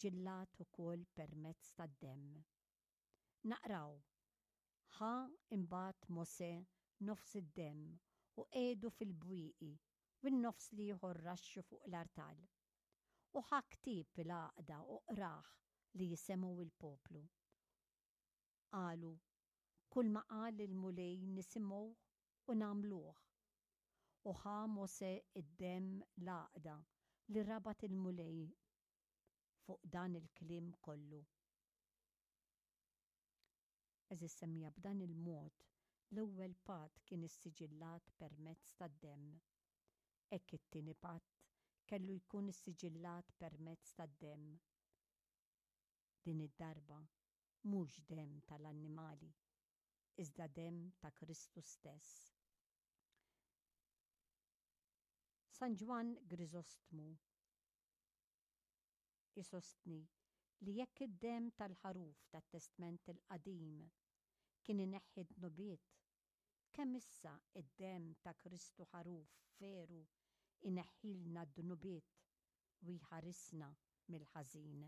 ssiġillat ukoll permezz tad-demm. Naqraw, Ħa imbagħad Mosè nofs id-demm u qiegħdu fil-bwieqi u n-nofs l-ieħor raxxu fuq l-artal. U ħa ktieb il-għaqda u qrah li jisemgħu l-poplu. Qalu, Kulma qal il-Mulej nisimgħuh u nagħmluh. U ħa Mosè d-demm l-għaqda li rabat il-Mulej fuq dan il-kliem kollu. Għeżież semmiegħa b'dan il-mod l-ewwel patt kien issiġillat permezz tad-demm. Hekk it-tieni patt kellu jkun issiġillat permezz tad-demm. Din id-darba mhux demm tal-annimali, iżda demm ta' Kristu stess. San Ġwann Griżostmu isostni li jekk id-demm tal-ħaruf tat-Testment il-Qadim kien ineħħi d-dnubiet, kemm issa d-demm ta' Kristu Ħaruf veru jneħħilna d-dnubiet u jħarisna mill-ħażin.